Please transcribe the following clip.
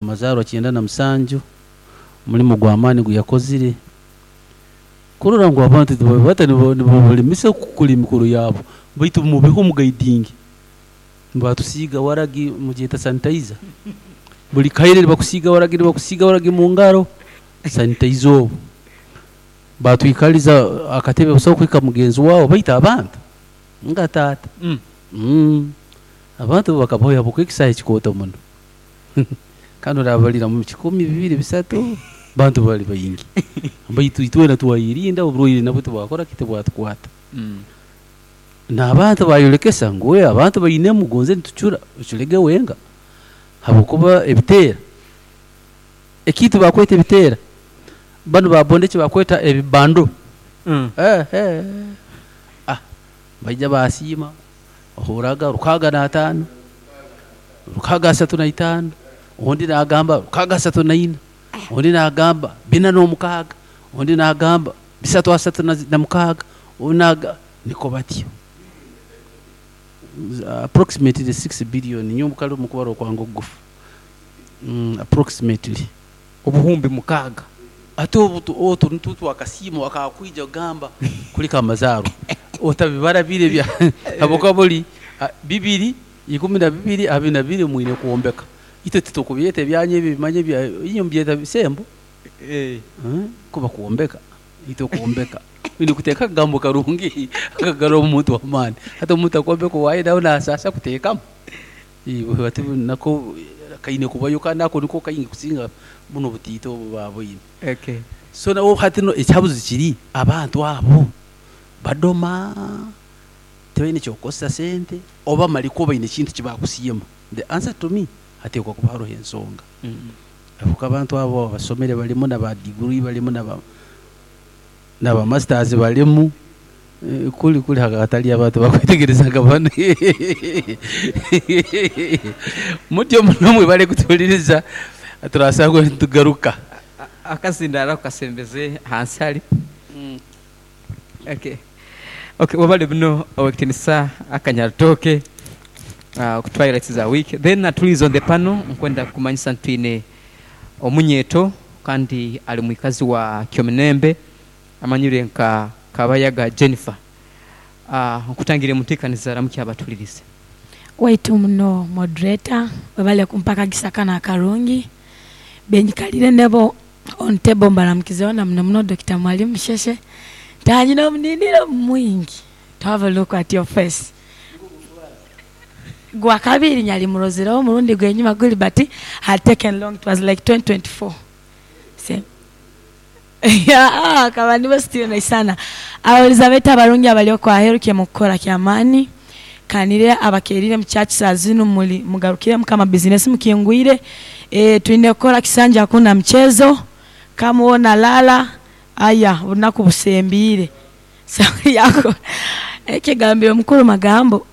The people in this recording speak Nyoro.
Amazaarwa 97, omulimu gw'amaani ogu yakozire kurora ngu abantu tibabata nibabalemesa kukora emikoro yaabo baitu mubeho mugaidinge. Nibatusiiga waragi mugyeta sanitizer, buri kaire nibakusiiga waragi nibakusiiga waragi mu ngaro, sanitizer obu. Batwikaliza akatebe busaho kuhika mugenzi waawe baitu abantu nga taata. Abantu bakabaho habwokuba ekisaayi kikooto muno kandi orabalira mu kikumi, bibiri, bisatu, bantu bali baingi. Baitu itwena twayerinda oburwaire nabwo tibwakora ki, tibwatukwata. N'abantu bayolekesa ngu abantu bainemu gonze nitucura, oculege wenka habwokuba ebiteera, ekintu bakweta ebiteera, banu ba boda eki bakweta ebibando, baija basiima, ohurraga 65, 635, ondi naagamba 634, ondi naagamba 406, ondi naagamba 336, ondi naagamba nikwo batyo. Approximately 6 billion nyowe kale omu kubara okwange okugufu, approximately. 6000. Hati obu otu nitwo twakasiimo akakwija kugamba kuleka amazaarwa otabibara biri ebya habwokuba buli 2012 22 mwine kwombeka. Itwe titukubyeta ebyanyu ebi manya ebya inywe mubyeta bisembo? Kuba kwombeka, itwe kwombeka. Oine kuteeka akagambo karungi akagarramu omuntu amaani. Hati omuntu akwombeka owaaye nawe naasaasa kuteekamu? Hati nako kaine kubayo kandi ako niko kaingi kusinga bunu obutiito obu baaboine. So nawe hati nu ekihabuzo kiri abantu abo badoma, tibaine ky'okukozesa sente oba malikwo baine ekintu eki baakusiima? The answer to me, hateekwa kuba haroho ensonga. Habwokuba abantu abo abasomere balimu na ba degree balimu na ba na ba masters balimu, kuli kuli hatali abantu bakwetegereza nka banu. Mutyo muno mwebale kutuhuliriza, turasangwa nitugaruka. Akazindaaro ako kasembeze hansi hali. Okay. Okay, webale muno Owekitinisa Akanyarutooke okutuha highlights za week. Then atuliize on the panel nkwenda kukumanyisa nti twine omunyeeto kandi ali mwikazi wa Kyomunembe amanyirwe nka Kabayaga Jennifer. Nkutangire munteekaniza ramukya abatuhuliriize. Waitu muno Moderator, webale kumpa akagisa kano akarungi. Benyikalire nebo on table mbalamukizeho na muno muno Dokita Mwalimu Sheshe. Ntanyina omuniniro mwingi to have a look at your face. Gwa kabiri nyali murozireho omurundi gwenyuma guli but had taken long it was like 2024. Se akaba nibo still naisana. Abawuliza baitu abarungi abali okwo aheru kyemukukora kyamaani. Kanire abakerire mu church saa zinu muli mugarukire mukama business mukingwire. Eeh twine kukora kisanja hakuna mchezo kama wona lala aya obunaku busembiire. Sawa yako ekigambire omukuru magambo.